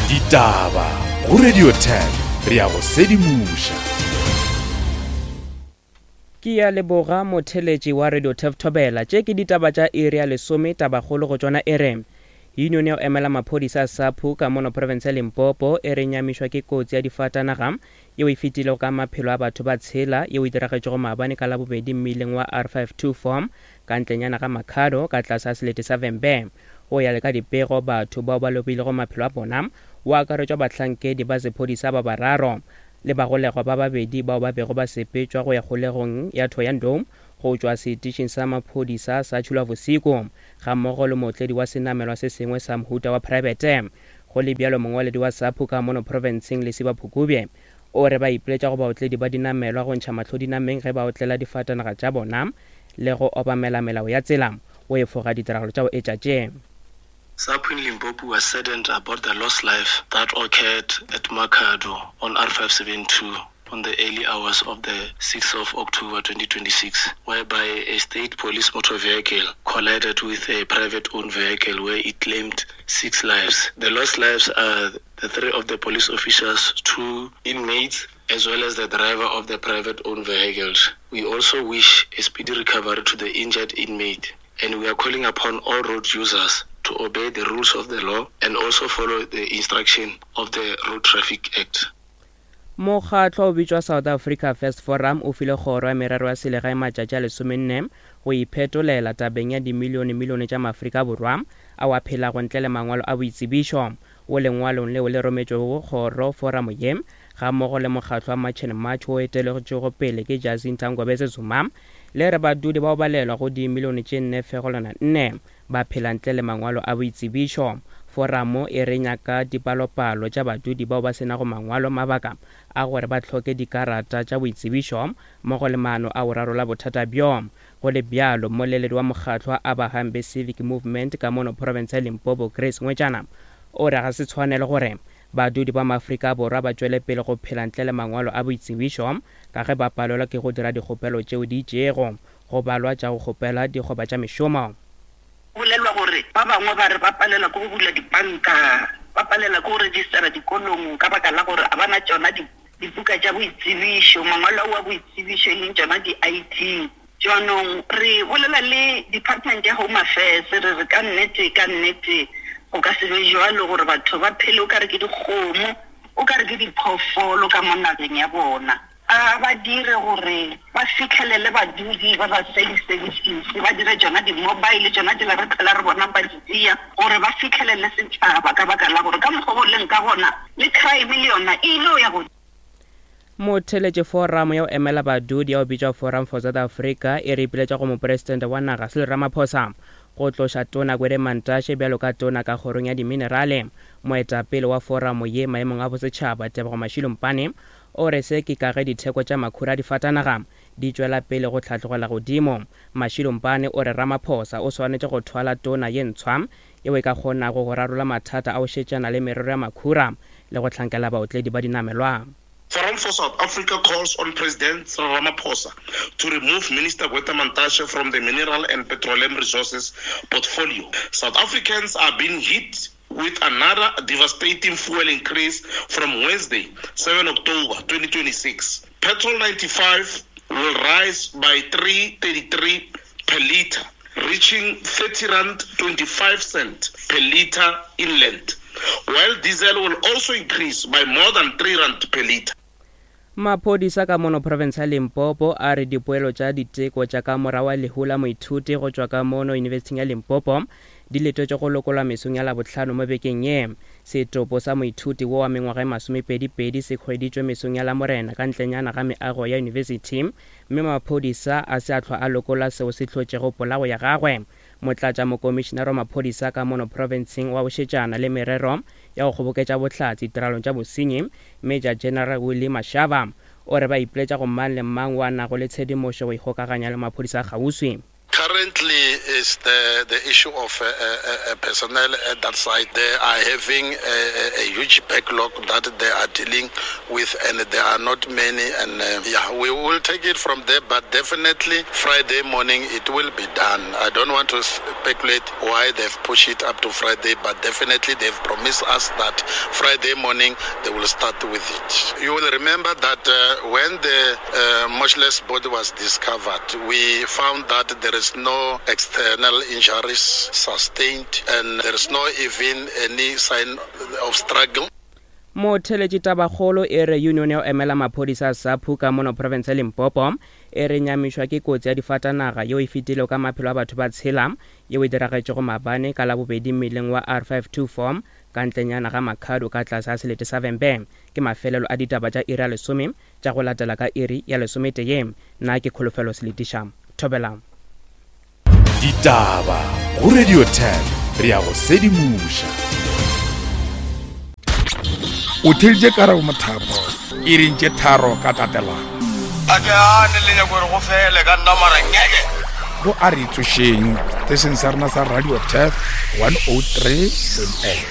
Ditaba go Radio 10 re ya go sedimoša. Ke ya leboga motheletši wa Radio Turf Thobela. Tše ke ditaba tša iri ya lesome, tabakgolo go tšona e re Union ya go emela maphodisa a SAPU ka mono profense ya Limpopo e re nyamišwa ke kotsi ya difatanaga yeo e fetilego ka maphelo a batho ba tshela yeo e diragetšego maabane ka Labobedi mmileng wa R524 ka ntlenyana ga Makhado ka tlase ga selete sa Vhembe. Go ya le ka dipego, batho bao ba lobilego maphelo a bona go akaretšwa bahlankedi ba sephodisa ba bararo le bagolegwa ba babedi bao ba bego ba sepetšwa go ya kgolegong ya Thohoyandou go tšwa setišing sa maphodisa sa Tšhulwabosiku gammogo le mootledi wa senamelwa se sengwe sa mohuta wa praebete. Go le bjalo, mongwaledi wa SAPU ka mono profenseng Lesiba Phukubye o re ba ipiletša go baotledi ba dinamelwa go ntšha mahlo dinameng ge ba otlela difatanaga tša bona le go obamela melao ya tsela go efoga ditiragalo tša go etša tše. SAPU in Limpopo was saddened about the lost life that occurred at Makhado on R572 on the early hours of the 6th of October 2026, whereby a state police motor vehicle collided with a private-owned vehicle where it claimed six lives. The lost lives are the three of the police officers, two inmates, as well as the driver of the private-owned vehicles. We also wish a speedy recovery to the injured inmate, and we are calling upon all road users to obey the rules of the law and also follow the instruction of the Road Traffic Act. Mokgatlo o bitšwa South Africa First Forum o file Kgoro ya Merero ya Selegae matšatši a lesomenne go iphetolela tabeng ya dimilionemilione tša Maafrika Borwa ao a phelago ntle le mangwalo a boitsebišo. Wo lengwalong leo le rometšwego go kgoro, foramo ye, gammogo le mokgatlo wa March and March wo eteletšwego pele ke Jacinta Ngobese Zuma, le re badudi bao balelwa go dimilione tše 4,4 ba phela ntle le mangwalo a boitsebišo. Foramo e re nyaka dipalopalo tša badudi bao ba se nago mangwalo, mabaka a gore ba hloke dikarata tša boitsebišo mmogo le maano a go rarolla bothata bjo. Go le bjalo, mmoleledi wa mokgatlo wa Abahambe Civic Movement ka mono profense ya Limpopo, Grace Ngwetšana, o re ga se tshwanelo gore badudi ba Maafrika Borwa ba tšwele pele go phela ntle le mangwalo a boitsebišo ka ge ba palelwa ke go dira dikgopelo tšeo di itšego go balwa tša go kgopela dikgoba tša mešomo. Go bolelwa gore ba bangwe ba re ba palelwa ke go bula dipanka, ba palelwa ke go registera dikolong ka baka la gore ga ba na tšona dibuka tša boitsebišo, mangwalo ao a boitsebišo e leng tšona di-ID. Jaanong re bolela le Department ya Home Affairs re re ka nnete, ka nnete go ka se be bjalo gore batho ba phele o ka re ke dikgomo, o ka re ke diphoofolo ka mo nageng ya bona. A ba dire gore ba fihlelele badudi ba ba self-services, ba dire tšona di-mobile, tšona tšela re phela re bonang ba di tšea, gore ba fihlelele setšhaba ka baka la gore ka mokgwa go leng ka gona le crime le yona e ile go ya godimo. Motheeletši Foramo ya go emela badudi ya go bitšwa Forum for South Africa e re ipiletša go Mopresidente wa naga Cyril Ramaphosa go tloša Tona Gwede Mantashe bjalo ka Tona ka Kgorong ya Diminerale. Moetapele wa foramo ye maemong a bosetšhaba Tebogo Mashilo Mpane O re se ke ka ge ditheko tša makhura a difatanaga di tšwela pele go hlatlogela godimo. Mashilo Mpane o re Ramaphosa o swanetše go thwala tona ye ntshwa yeo e ka kgonago go rarolla mathata a go šetšana le merero ya makhura le go hlankela baotledi ba dinamelwa. Forum for South Africa calls on President Cyril Ramaphosa to remove Minister Gwede Mantashe from the Mineral and Petroleum Resources portfolio. South Africans are being hit with another devastating fuel increase from Wednesday, 7 October 2026. Petrol 95 will rise by 3.33 per litre, reaching 30 rand 25 cent per litre inland, while diesel will also increase by more than 3 rand per litre. Maphodisa ka mono profense ya Limpopo a re dipoelo tša diteko tša ka morago ga lehu la moithuti go tšwa ka mono Yunibesithing ya Limpopo di letetšwe go lokolwa mesong ya Labohlano mo bekeng ye. Setopo sa moithuti wo wa mengwaga e masomepedi-pedi se hweditšwe mesong ya Lamorena ka ntlenyana ga meago ya yunibesithi mme maphodisa a se a hlwa a lokola seo se hlotšego polao ya gagwe. Motlatšamokomišinara wa maphodisa ka mono profenseng wa go šetšana le merero ya go kgoboketša bohlatse ditiralong tša bosenyi, Major General Willie Mashaba, o re ba ipiletša go mang le mang wo a nago le tshedimošo go ikgokaganya le maphodisa a kgauswi. Currently is the, the issue of uh, uh, uh, personnel at that site. They are having a, a, a huge backlog that they are dealing with and there are not many. And uh, yeah, we will take it from there, but definitely Friday morning it will be done. I don't want to speculate why they've pushed it up to Friday, but definitely they've promised us that Friday morning they will start with it. You will remember that uh, when the uh, motionless body was discovered, we found that there is no external injuries sustained and there is no even any sign of struggle. Motheletši tabakgolo e re union ya go emela maphodisa a SAPU ka mono profense ya Limpopo e re nyamišwa ke kotsi ya difatanaga yeo e fetilego ka maphelo a batho ba tshela yeo e diragetšego maabane ka Labobedi mmileng wa R524 ka ntlenyana ga Makhado ka tlase ga selete sa Vhembe. Ke mafelelo a ditaba tša iri ya lesome tša go latela ka iri ya lesometee. Nna ke Kholofelo Seletiša. Thobela. Ditaba go Radio 10 re ya go sedimoša. O theeditše Karabo Mothapo iring tše tharo ka tatelano. A ke gane le nyako gore go fele ka nna mara ngeke. Go a re tsošeng setešeng sa rena sa Radio Turf 103.8.